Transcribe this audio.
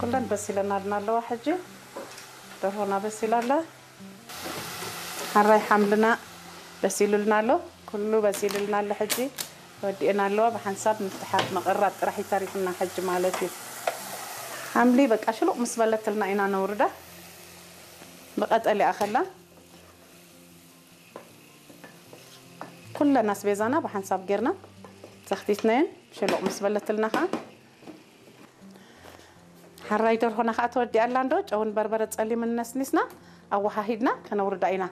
ኩለን በሲለናልና ኣለዋ። ሕጂ ደርሆና በሲላ ኣላ። ሓራይ ሓምልና በሲሉልና ኣሎ። ኩሉ በሲሉልና ኣሎ። ሕጂ ወዲእና ኣለዋ። ብሓንሳብ ምፍትሓት መቐራብ ጥራሕ ይተሪፍና ሕጂ ማለት እዩ። ሓምሊ በቃ ሽሉቕ ምስ በለትልና ኢና ነውርዳ። ብቐጠል ይኣኸላ። ኩለን ኣስቤዛና ብሓንሳብ ጌርና ዘኽቲትናየን ሽሉቕ ምስ በለትልና ኸዓ ሓራይ ደርሆና ኸዓ ተወዲኣ ኣላ እንዶ። ጨውን በርበረ ጸሊምን ነስኒስና ኣወሃሂድና ከነውርዳ ኢና።